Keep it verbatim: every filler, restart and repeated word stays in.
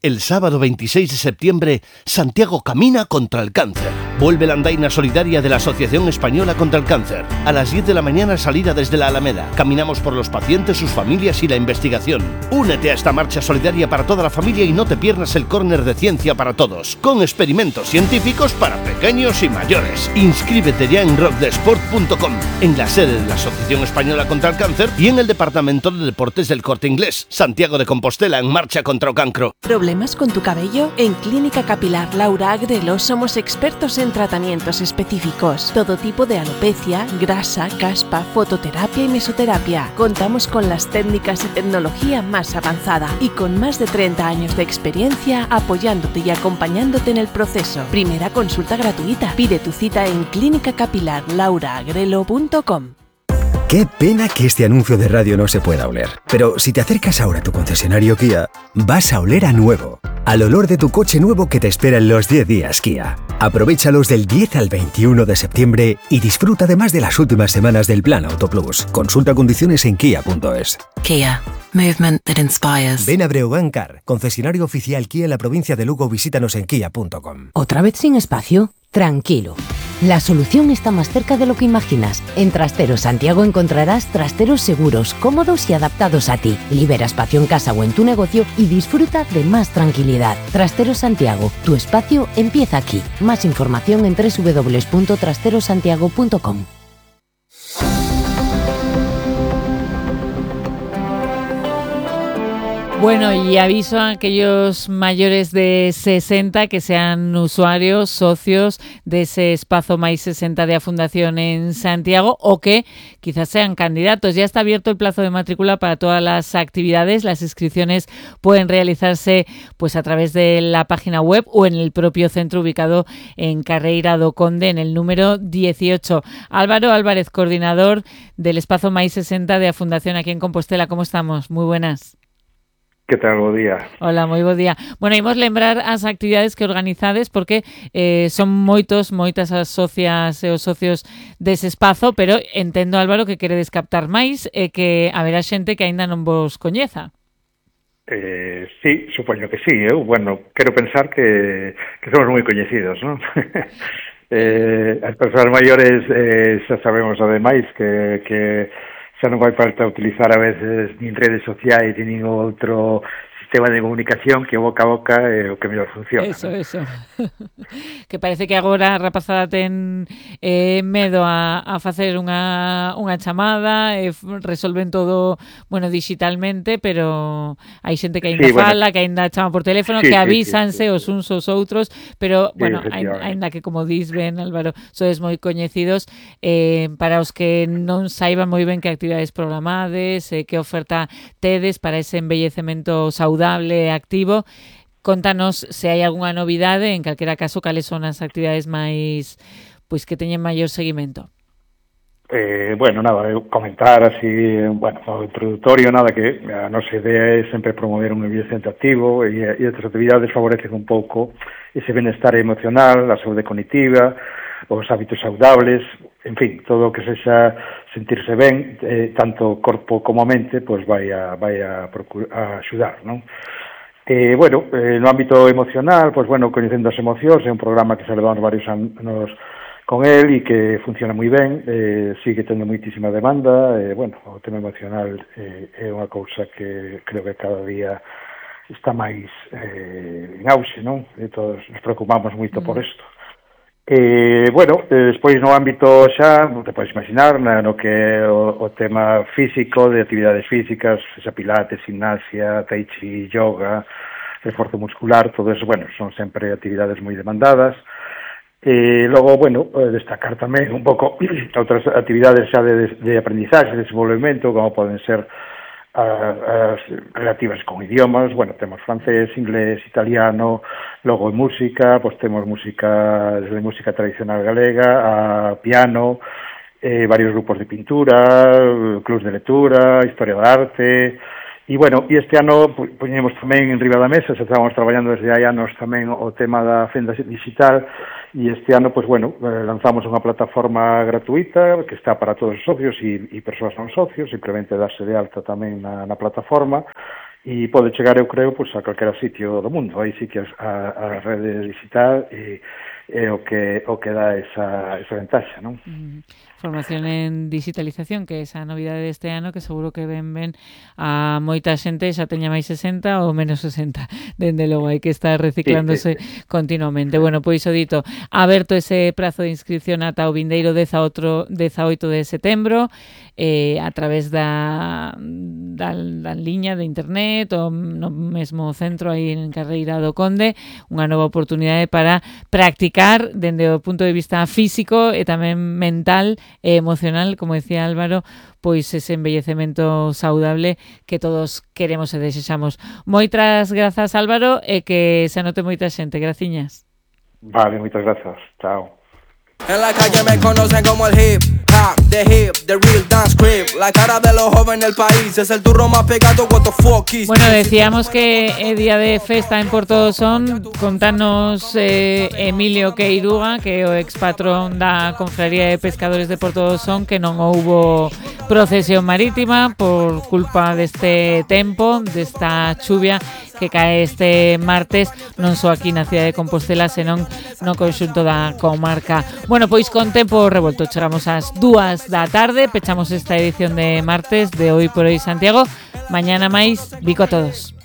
El sábado veintiséis de septiembre, Santiago camina contra el cáncer. Vuelve la andaina solidaria de la Asociación Española contra el Cáncer. A las diez de la mañana salida desde la Alameda. Caminamos por los pacientes, sus familias y la investigación. Únete a esta marcha solidaria para toda la familia y no te pierdas el córner de ciencia para todos, con experimentos científicos para pequeños y mayores. Inscríbete ya en rock de sport punto com, en la sede de la Asociación Española contra el Cáncer y en el Departamento de Deportes del Corte Inglés. Santiago de Compostela en marcha contra o cancro. ¿Problemas con tu cabello? En Clínica Capilar Laura Agrelo somos expertos en tratamientos específicos. Todo tipo de alopecia, grasa, caspa, fototerapia y mesoterapia. Contamos con las técnicas y tecnología más avanzada y con más de treinta años de experiencia apoyándote y acompañándote en el proceso. Primera consulta gratuita. Pide tu cita en clínica capilar laura agrelo punto com. Qué pena que este anuncio de radio no se pueda oler. Pero si te acercas ahora a tu concesionario Kia, vas a oler a nuevo. Al olor de tu coche nuevo que te espera en los diez días Kia. Aprovéchalos del diez al veintiuno de septiembre y disfruta además de las últimas semanas del Plan Auto Plus. Consulta condiciones en kia punto es. Kia. Movement that inspires. Ven a Breogán Car, concesionario oficial Kia en la provincia de Lugo. Visítanos en kia punto com. ¿Otra vez sin espacio? Tranquilo. La solución está más cerca de lo que imaginas. En Trasteros Santiago encontrarás trasteros seguros, cómodos y adaptados a ti. Libera espacio en casa o en tu negocio y disfruta de más tranquilidad. Trasteros Santiago, tu espacio empieza aquí. Más información en doble u doble u doble u punto trasteros santiago punto com. Bueno, y aviso a aquellos mayores de sesenta que sean usuarios, socios de ese espacio Máis sesenta de a Fundación en Santiago o que quizás sean candidatos. Ya está abierto el plazo de matrícula para todas las actividades. Las inscripciones pueden realizarse pues a través de la página web o en el propio centro ubicado en Carreira do Conde, en el número dieciocho. Álvaro Álvarez, coordinador del espacio Máis sesenta de a Fundación aquí en Compostela. ¿Cómo estamos? Muy buenas. Que tal, bo día? Hola, moi bo día. Bueno, imos lembrar as actividades que organizades porque eh, son moitos, moitas as socias e os socios dese espazo, pero entendo, Álvaro, que queredes captar máis e que haberá xente que aínda non vos coñeza. Eh, sí, supoño que sí. Eu, bueno, quero pensar que, que somos moi coñecidos, non? eh, as persoas maiores eh, xa sabemos ademais que... que xa non vai falta utilizar a veces nin redes sociais nin outro sistema de comunicación que boca a boca é o que mellor funciona. Eso, ¿no? Eso. Que parece que agora a rapazada ten eh, medo a, a facer unha, unha chamada, e resolven todo, bueno, digitalmente, pero hai xente que aínda sí, fala, bueno, que aínda chama por teléfono, sí, que avísanse sí, sí, sí. os uns aos outros, pero, sí, bueno, aínda que, como dis ben, Álvaro, sodes moi coñecidos, eh, para os que non saiban moi ben que actividades programades, eh, que oferta tedes para ese embellecemento saudable e activo. Contanos se hai algunha novidade, en calquera caso, cales son as actividades máis, pois, que teñen maior seguimento. Eh, bueno, nada, comentar así, bueno, o introductorio, nada, que a nosa idea é sempre promover un envellecemento activo e, e estas actividades favorecen un pouco ese benestar emocional, a saúde cognitiva, os hábitos saudables, en fin, todo o que sexa sentirse ben, eh, tanto corpo como mente, pois vai a, vai a, procura, a axudar, non? Eh, bueno, eh, no ámbito emocional, pois bueno, Coñecendo as Emocións, é un programa que se levamos varios anos con el e que funciona moi ben, eh, sigue tendo moitísima demanda, e, eh, bueno, o tema emocional eh, é unha cousa que creo que cada día está máis eh, en auxe, non? E todos nos preocupamos moito mm. por isto. Eh, bueno, eh, despois no ámbito xa, te podes imaginar, no que o, o tema físico, de actividades físicas, xa pilates, gimnasia, tai chi, yoga, esforzo muscular, todo eso, bueno, son sempre actividades moi demandadas. E logo, bueno, destacar tamén un pouco outras actividades xa de, de aprendizaje, de desenvolvemento, como poden ser as relativas con idiomas, bueno, temos francés, inglés, italiano, logo música, pois temos música, desde música tradicional galega a piano, eh, varios grupos de pintura, clubs de lectura, historia da arte, e bueno, e este ano poñemos tamén en riba da mesa, xa estábamos traballando desde hai anos tamén o tema da fenda digital, e este ano, pois bueno, lanzamos unha plataforma gratuita que está para todos os socios e, e persoas non socios, simplemente darse de alta tamén na, na plataforma, e pode chegar, eu creo, pois, a calquera sitio do mundo. Aí sí que a, a rede digital e é o que o que dá esa, esa ventaxa, non? Mm. Formación en digitalización, que é esa novidade deste ano, que seguro que ven ben a moita xente, xa teña máis sesenta ou menos sesenta. Dende logo, hai que estar reciclándose sí, sí, sí. continuamente. Bueno, pois o dito, aberto ese prazo de inscripción ata o vindeiro dezaoito de setembro, eh, a través da, da, da liña de internet ou no mesmo centro aí en Carreira do Conde, unha nova oportunidade para practicar dende o punto de vista físico e tamén mental e emocional, como decía Álvaro, pois ese envellecemento saudable que todos queremos e desexamos. Moitas grazas, Álvaro, e que se anote moita xente. Graciñas. Vale, moitas grazas. Chao. En la calle me conocen como el hip hop, the hip, the real dance crib. La cara de los jóvenes del país es el turro más pegado, what the fuck is. Bueno, decíamos que é día de festa en Porto do Son. Contanos eh, Emilio Queiruga, que é o expatrón da Confraría de Pescadores de Porto do Son, que non houbo procesión marítima por culpa deste tempo, desta chuvia que cae este martes, non só aquí na cidade de Compostela, senón no conxunto da comarca. Bueno, pois con tempo revolto chegamos ás dúas da tarde, pechamos esta edición de martes de Hoy por Hoy Santiago. Mañana máis, bico a todos.